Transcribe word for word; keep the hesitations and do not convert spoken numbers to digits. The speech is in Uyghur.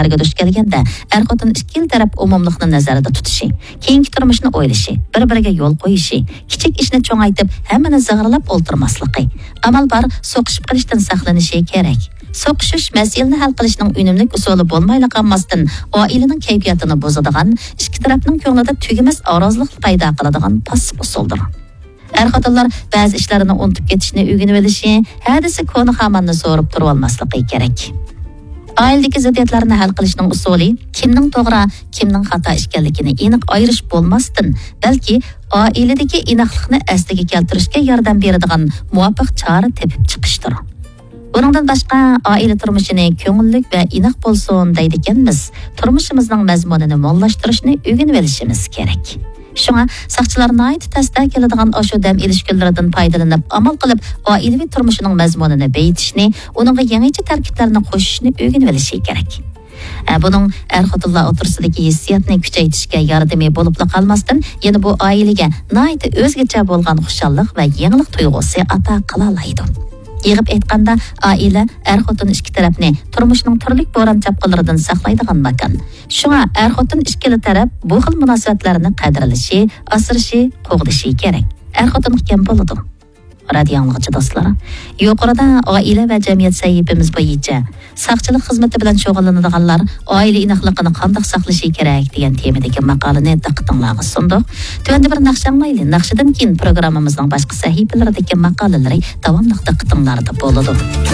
مەسىلىلەرگە دۇچ كەلگەندە، ئەر-خوتۇن ئىككىلا تەرەپ ئومۇملۇقنى نەزەردە تۇتۇشى، كېيىنكى تۇرمۇشنى ئويلىشى، بىر-بىرىگە يول قويۇشى، كىچىك ئىشنى چوڭايتىپ، ھەممىنى زىغىرلاپ ئولتۇرماسلىقى، ئامال بار سوقۇشۇپ قېلىشتىن ساقلىنىشى كېرەك. سوقۇشۇش مەسىلىنى ھەل قىلىشنىڭ ئۈنۈملۈك ئۇسۇلى بولمايلا قالماستىن، ئائىلىنىڭ كەيپىياتىنى بۇزىدىغان، ئىككى تەرەپنىڭ كۆڭلىدە تۈگىمەس نارازىلىقنى پەيدا قىلىدىغان پاسسىپ ئۇسۇلدۇر. ئەر-خوتۇنلار بەزى ئىشلارنى ئۇنتۇپ كېتىشنى ئۆگىنىۋېلىشى، ھە دېسە كونا خاماننى سورۇپ تۇرۇۋالماسلىقى كېرەك. ئائىلىدىكى زىددىيەتلەرنى ھەل قىلىشنىڭ ئۇسۇلى كىمنىڭ توغرا، كىمنىڭ خاتا ئىكەنلىكىنى ئېنىق ئايرىش بولماستىن، بەلكى ئائىلىدىكى ئىناقلىقنى ئەسلىگە كەلتۈرۈشكە ياردەم بېرىدىغان مۇۋاپىق چارە تېپىپ چىقىشتۇر. بۇنىڭدىن باشقا، ئائىلە تۇرمۇشىنى كۆڭۈللۈك ۋە ئىناق بولسۇن دەيدىكەنمىز، تۇرمۇشىمىزنىڭ مەزمۇنىنى موللاشتۇرۇشنى ئۆگىنىۋېلىشىمىز كېرەك. شۇڭا ساقچىلار ناھايىتى تەستە كېلىدىغان ئاشۇ دەم ئېلىش كۈنلىرىدىن پايدىلىنىپ، ئامال قىلىپ ئائىلىۋى تۇرمۇشىنىڭ مەزمۇنىنى بېيىتىشنى، ئۇنىڭغا يېڭىچە تەركىبلەرنى قوشۇشنى ئۆگىنىۋېلىشى كېرەك. ئە، بۇنىڭ ئەر-خوتۇنلار ئوتتۇرىسىدىكى ھېسسىياتنى كۈچەيتىشكە ياردىمى بولۇپلا قالماستىن، يەنە بۇ ئائىلىگە ناھايىتى ئۆزگىچە بولغان خۇشاللىق ۋە يېڭىلىق تۇيغۇسى ئاتا قىلالايدۇ. يىغىپ ئېيتقاندا، ئائىلە ئەر-خوتۇن ئىككى تەرەپنى تۇرمۇشنىڭ تۈرلۈك بوران-چاپقۇنلىرىدىن ساقلايدىغان ماكان. شۇڭا ئەر-خوتۇن ئىككىلا تەرەپ بۇ خىل مۇناسىۋەتلەرنى قەدىرلىشى، ئاسرىشى، قوغدىشى كېرەك. ئەر-خوتۇن ئىكەن بولىدۇ. رادىيو ئاڭلىغۇچى دوستلار، يۇقىرىدا ئائىلە ۋە جەمئىيەت سەھىپىمىز بويىچە ساقچىلىق خىزمىتى بىلەن شۇغۇللىنىدىغانلار ئائىلە ئىناقلىقىنى قانداق ساقلىشى كېرەك دېگەن تېمىدىكى ماقالىنى دىققىتىڭلارغا سۇندۇق. تۆۋەندە بىر ناخشا ئاڭلايلى. ناخشىدىن كېيىن پروگراممىمىزنىڭ باشقا سەھىپىلىرىدىكى ماقالىلىرى داۋاملىق دىققىتىڭلاردا بولىدۇ.